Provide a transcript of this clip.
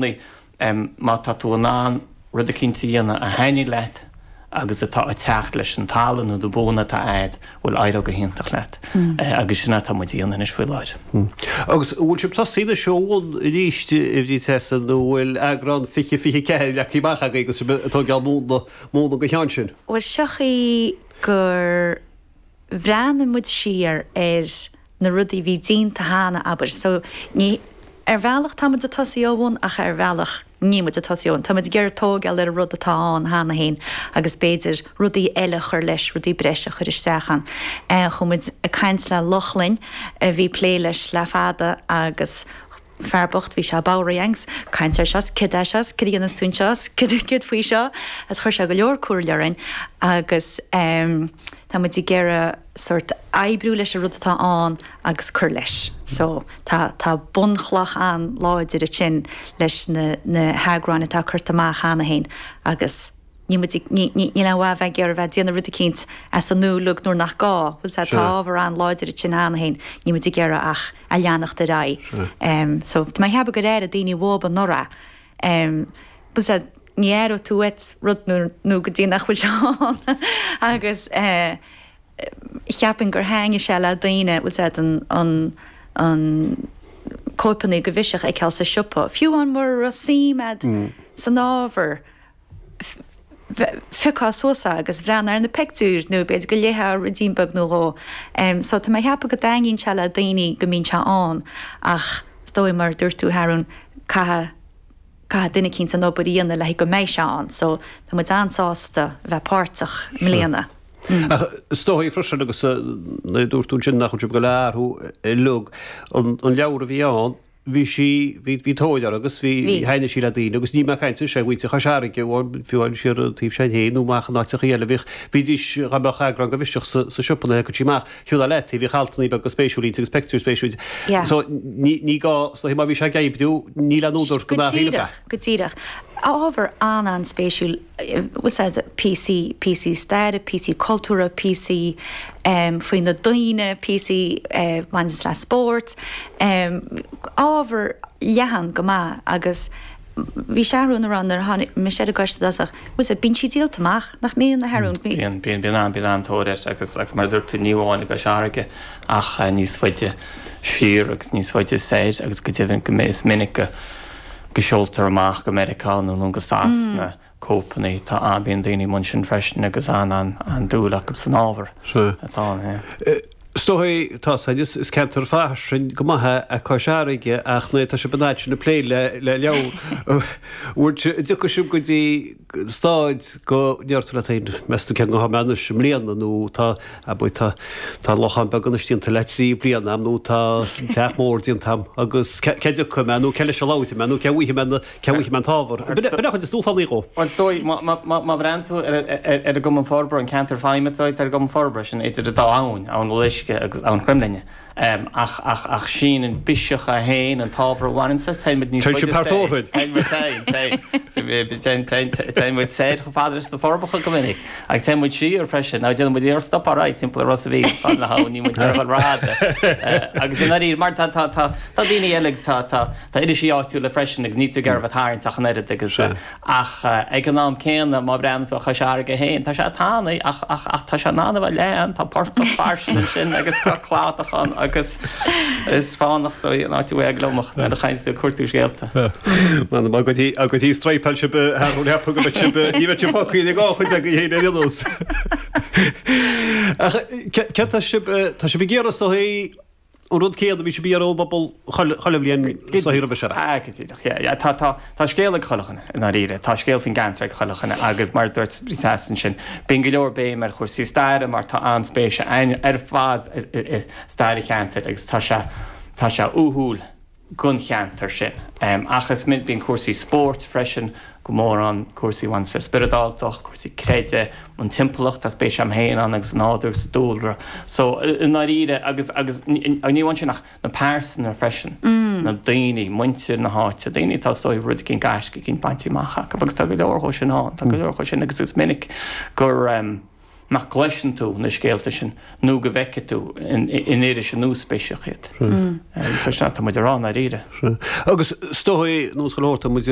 Má tá tú in ann rud eicínt a dhéanamh a thaitníonn leat agus atá ag teacht leis an tallann nó na buanna atá a'd, bhuel éireoidh go hiontach leat. Agus sin atá muid a dhéanamh anois faoi láthair. Agus an bhfuil sibh tosaithe anois ó bhun arís, a Bhríd Treasa, nó an bhfuil eagrán 2024 leagtha amach agaibh agus sibh ag tógáil múnla, múnla den cheann sin? Bhuel, seo chaoi gur bhreathnaigh muid siar ar na rudaí a bhí déanta cheana, abair. So, ní, ar bhealach tá muid ag tosaí ó bhun ach ar bhealach níl muid ag tosaí ó bhun. Tá muid ag iarraidh tógáil ar an rud atá ann cheana féin agus b'fhéidir rudaí eile a chur leis, rudaí breise a chur isteach ann. Chuaigh muid ag caint le Lochlainn a bhí ag plé leis le fada agus fear bocht bhí sé bodhraithe agus caint air seo 's céard é seo 's céard a dhéanas tú anseo 's céard faoi seo agus chuir sé go leor comhairle orainn agus tá muid ag iarraidh sórt oibriú leis an rud atá ann agus cur leis. So tá tá bunchloch an-láidir ansin leis na na heagráin atá curtha amach cheana féin agus níl muid ag ní ní níl aon mhaith bheith ag iarraidh bheith ag déanamh rud eicínt as an nua uilig nuair nach gá, bhfuil 's a'd tá ábhar an-láidir ansin cheana féin, níl muid ag iarraidh ach a leanacht ar aghaidh. So tá mé ag ceapadh gur airigh daoine uathu anuraidh. Bhfuil 's a'd ní aireoidh tú uait rud nó nó go dtí nach bhfuil sé ann agus eh cheapfainn gur thaitnigh sé le daoine, bhfuil 's a'd an an an cóipeanna de Bhiseach a fheiceáil sa siopa, fiú amháin mura raibh suim a'd san ábhar. phiocfá suas é agus bhreathnófá ar na pictiúir nó b'fhéidir go léifeá ruidín beag nó dhó. So tá mé ag ceapadh go dtaitníonn sé le daoine go mbíonn sé ann ach is dóigh mar a dúirt tú a Shearún, caithfidh, caithfidh duine eicínt an obair a dhéanamh le haghaidh go mbeidh sé ann. So tá muid an-sásta a bheith páirteach i mbliana. Ach is dóigh freisin agus nuair a dúirt tú ansin nach bhfuil sibh ag dul a athrú uilig an leabhar a bhí ann, bhí sí, bhí, bhí tóir uirthi agus bhí, Bhí. thaitnigh sí le daoine agus ní mé ag caint anois ar mhuintir Chois Fharraige, fiú amháin siar an taobh sin féin nó amach in áiteachaí eile, bhíodh, bhídís, dá mbeadh eagrán de Bhiseach sa, sa siopa nuair a thiocfadh sí amach, shiúlfá leat í, bhíodh altannaí beaga spéisiúla inti agus peictiúir spéisiúil inti. Yeah. So, ní, ní gá, is dóichí má bhí sé ag oibriú, níl aon údar Go go n-athraíonn díreach, é. go díreach. Ábhar an-an-spéisiúil, bhfuil 's a'd, píosaí, píosaí staire, píosaí cultúrtha, píosaí faoi na daoine, píosaí a bhaineanns le spórt, ábhar leathan go maith agus bhí Seathrún ag rá nuair a tháinig mise ar an gcoiste i dtosach, bhfuil 's a'd, bíonn sí díolta amach, nach mbíonn, a Sheathrúin? Bíonn, bíonn, bíonn an, bíonn an-tóir air agus, agus mar a dúirt tú, ní amháin i gCois Fharraige ach níos faide siar agus níos faide soir agus go deimhin go, is minic go, go seoltar amach go Meiriceá nó nó go Sasana cóipeanna. Tá an, bíonn daoine amuigh ansin freisin agus an, an, an-dúil acu san ábhar atá ann, yeah. Is dóigh, tá san, is, is ceantar fairsing go maith é Cois Fharraige ach nuair atá sibh an fhad sin ag plé le, le leabhar, bhfuil, an dtiocfaidh sibh go dtí staid go ndeir tú leat féin, meas tú cén chaoi a mbeidh anois i mbliana nó tá, abair, tá, tá an lochán beag anois déanta le 3 bliana a'm nó tá an teach mór déanta a'm agus cé, cé dtiocfaidh mé nó cé leis a labharfaidh mé nó cé bhfaighidh mé na, Cé bhfaighidh mé an t-ábhar? B'in é chuid is dúshlánaí dhó. Bhuel, is dóigh, má bhreathnaíonn tú ar an gCumann Forbartha, an ceantar feidhme atá ar an gCumann Forbartha, sin idir an dá abhainn, Abhainn an Uisce agus Abhainn Chroimghlinne. Ach, ach, ach síneann Biseach é féin, an t-ábhar a bhaineann leis, téann muid níos faide soir. Téann muid, téann, téann. Téann, téann muid soir chomh fada leis na Forbacha go minic. Agus téann muid siar freisin. Now, déanann muid iarracht stop alright timpeall ar Ros a' Mhíl, fad na habhann, níl muid ar dhul rófhada. Agus i ndáiríre, mar tá, tá, tá, tá daoine eile agus tá, tá, Tá irisí áitiúla freisin agus níl tú ag iarraidh a bheith ag tarraingt ach an oiread agus ach ag an am céanna má bhreathnaíonn tú ar Chois Fharraige féin tá sé tanaí ach ach ach tá sé in ann a bheith leathan, tá portach fairsing ansin agus tá cladach ann agus is fánach so an áit a bhfuil gliomach nuair a théann tú ag cuartú scéalta. M'anam agat agat í straidhpeáil sibh thar an cheapadh go mbeidh sibh ní bheidh sibh fágtha ag á chuid agaibh féin ar aon nós. Ach céard tá sibh tá sibh ag iarraidh is dóigh An rud céanna a bhí sibh ag iarraidh ón bpobal chuile bhliain sa roimhe seo. Ah, go díreach, yeah, yeah. Tá, tá, tá scéal ag chuile dhuine, i ndáiríre. Tá scéal faoin gceantar ag chuile dhuine agus mar a dúirt Bríd Treasa ansin, bíonn go leor béim ar chúrsaí staire mar tá an-spéis againn ar fad i stair an cheantair agus tá sé, tá sé uathúil don cheantar sin. Ach is minic, bíonn cúrsaí spóirt freisin go mór ann, cúrsaí a bhaineanns le spioradáltacht, cúrsaí creidimh, an timpeallacht, tá spéis agam féin ann agus an nádúr agus an dúlra. So, i ndáiríre, agus, agus ní amháin sin ach na pearsana freisin, na daoine, muintir na háite, daoine atá is dóigh rud eicínt, gaisce eicínt bainte amach acu agus tá go leor dhó sin ann, tá go leor dhó sin agus is minic gur. nach gcloiseann tú na scéalta sin nó go bhfeicfidh tú in iris nuaspéiseach iad. So sin atá muid a rá i ndáiríre. Agus is dóigh, nós go leor, tá muid.